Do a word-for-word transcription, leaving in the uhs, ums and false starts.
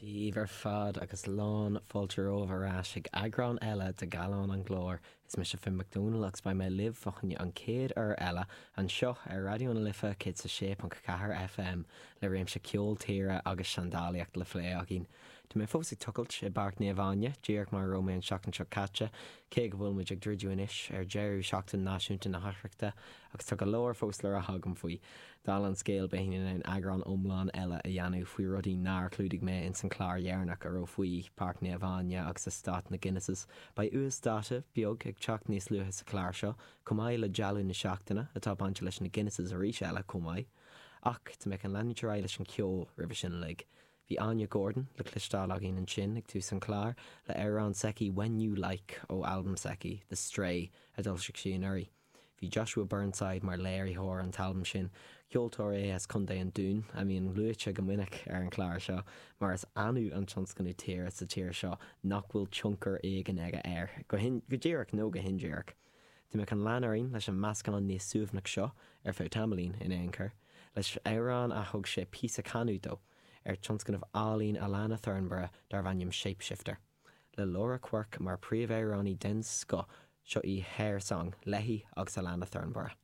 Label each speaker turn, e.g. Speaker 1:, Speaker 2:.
Speaker 1: Dia daoibh ar fad agus lán fáilte romhaibh ar ais ag eagrán eile de Gallán an Ghlóir. Is mise Finn Mac Dónaill agus beidh mé libh fá choinne an chéad uair eile anseo ar Raidió na Life céad a sé ponc ceathair FM le réimse ceol tíre agus seandálaíocht le plé againn. Tá mé fós ag tochailt i bPáirc Naomh Áine, díreach mar a raibh mé an seachtain seo caite, cé go bhfuil muid ag druidim anois ar deireadh seachtain náisiúnta na hoidhreachta agus tá go leor fós le rá agam faoi. Dála an scéil beidh in ann eagrán iomlán eile a dhéanamh faoi rudaí nár chlúdaigh mé ins an chlár dheireanach a raibh faoi Páirc Naomh Áine agus eastát na Guinnesses. Beidh uasdáta beag ag teacht níos luaithe sa chlár seo, chomh maith le dealbh na seachtaine atá bainte leis na Guinnesses arís eile chomh maith. Ach tá mé chun leanúint ar aghaidh leis an ceol roimhe sin uilig. Bhí Áine Gordon le cloisteáil againn ansin ag tús an chláir le amhrán s'aici When You Like ó albam s'aici The Stray a d'fhoilsigh sí anuraidh. Bhí Joshua Burnside mar léiritheoir an t-albam sin, ceoltóir é as Contae an Dúin a mbíonn luaite go minic ar an chlár seo, mar is annamh an tionscnamh tíre sa tír seo nach bhfuil tionchar éigin aige air, go go díreach nó go hindíreach. Tá mé chun lean orainn leis an meascán níos suaimhneach seo ar feadh tamaillín in aon chor, leis amhrán a thug sé píosa canadh dó ar tionscnamh álainn Alana Thornborough darb ainm Shapeshifter. Le Laura Quirk mar príomhamhránaí den scoth seo í Hair Song léi agus Alana Thornborough.